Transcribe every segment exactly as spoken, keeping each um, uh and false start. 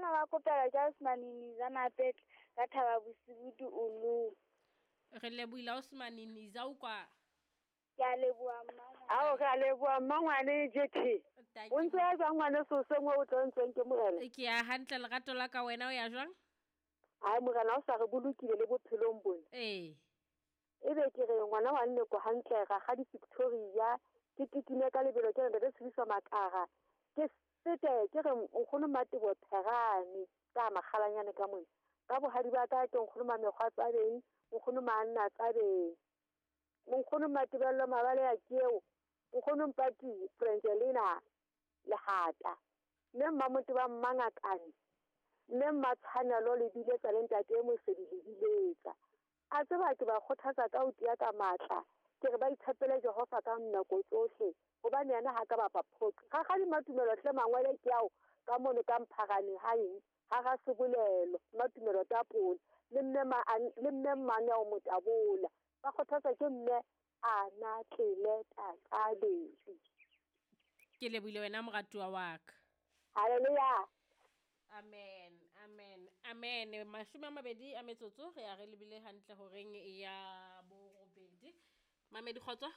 Bana ba kopela Jasmine Niza Mapetla ka Thaba Bosiu Diolong. Re lebohile Osman Niza o kwa. Ke a leboha mmangwane. Ao re a leboha mmangwane J T. O ntse ya jwang ngwane so sengwe o tlo ntseng ke morena? Ke ya hantle lerato la ka wena o ya jwang? Ai morena o sa re bolokile le bophelong bona. Eh. Ebe ke re ngwana wa nne ko hantle ra ga di Victoria ke tikine ka lebelo ke re re tshediswa makara. Ke sete ke re nkgono Matebo Pherane ka makgalanyane ka mona. Ka bohadi ba ka ke nkgono Mamekgwa Tsabeng, nkgono Manna Tsabeng. Nkgono Matebello Mabale ya keo, nkgono Mpati Frangelina Lehata. Mme Mmamoto ba Mmangakane. Mme Mmatshwanelo le biletsa le ntate Mosedi le biletsa. A tseba ke ba kgothatsa ka ho tiya ka matla. Ke re ba itshepele Jehova ka nako tsohle. Hobane yena ha ka ba phoqo. Rakgadi Matumelo hle mangwele ke ao ka mono ka Mpharane ha eng ha ra sebolelo Matumelo Tapole le mme ma le mme mmane o motabola. Ba kgothatsa ke mme ana tlele taqaleng. Ke lebohile wena moratuwa wa ka. Hallelujah. Amen, amen, amen. Mashome a mabedi a metsotso re ya re lebile hantle horeng ya borobedi. Mamedi kgotso.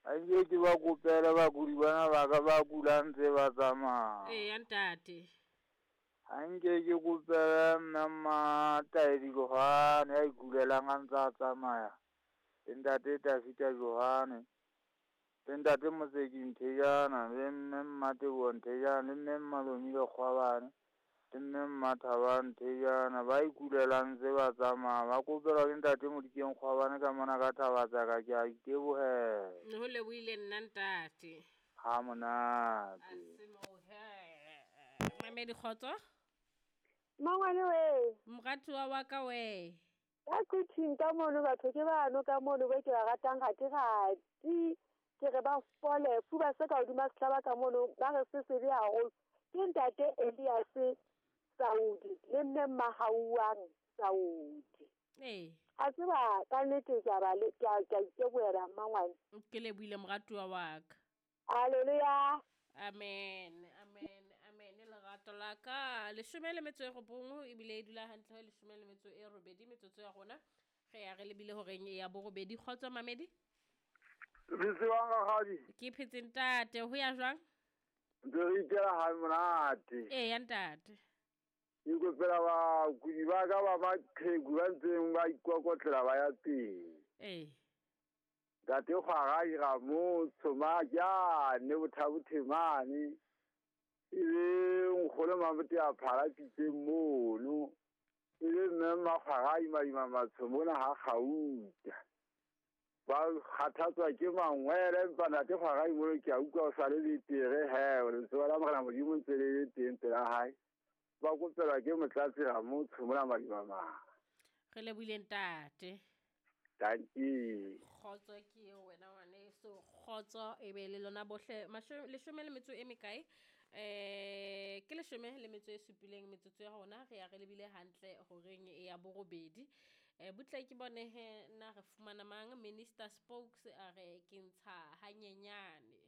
Anke ke ba kopela bakudi bana ba ka ba kulang tse ba tsamaya. Ee, ntate. Anke ke kopela mme Mmataedi Johane ya ikulelang a ntse a tsamaya. Le ntate Tafita Johane. Le ntate Moseki Nthejana, le mme Mmatebo Nthejana, le mme Mmalomile Kgwabane, le mme Mmathaba Nthejana ba ikulelang tse ba tsamaya. Ba kopelwa ke ntate Modikeng Kgwabane ka mona ka thaba tsa ka ke a itebohela. Ho lebohile nna ntate. Ha monate. A se mo he. Mamedi kgotso. Mmangwane we. Moratuwa wa ka we. Ka kuthing ka mono batho ke bano ka mono be ke ba ratang ga ke gati. Ke re ba fole fuba se ka hodima sehlaba ka mono ba re se sebe haholo. Ke ntate Elias Saudi le mme Mahauang Saudi. Eh. A tseba ka nnete ke a ba le ke a ke a itebohela mmangwane. Ke lebohile moratuwa wa ka. Hallelujah. Amen, amen, amen. Lerato la ka leshome le metso e robong ebile e dula hantle ho leshome le metso e robedi metsotso ya rona. Re ya re lebile horeng ya borobedi. Kgotso Mamedi. Phetse wa rakgadi. Ke phetse ntate, ho ya jwang? Ntse re ikela ha monate. Ee ya ntate. Ke kopela bakudi ba ka ba maqheku ba ntseng ba ikokotlela ba ya teng. Ee. Ntate Kgwarai Ramotsho Majane Bothabothe mane. Ebe nkgono Mamote a phala pitse mono. Ebe mme Makgwarai Madima Matsho mona ha Gauta. Ba kgathatswa ke mangwele empa ntate Kgwarai mono ke a utlwa o sa le betere he letsoho la Morena Modimo ntse le le teng pela hae. Ba kopelwa ke Motlatsi Ramotsho mona Madimamang. Re lebohile ntate. Dankie. Kgotso ke eo wena ngwaneso. Kgotso e be le lona bohle. Leshome le metso e mekae? Eh ke leshome le metso e supileng metsotso ya rona re ya re lebile hantle horeng ya borobedi. Eh butle ke bone he na re fumana mang Minister Spokes a re ke ntsha hanyenyane.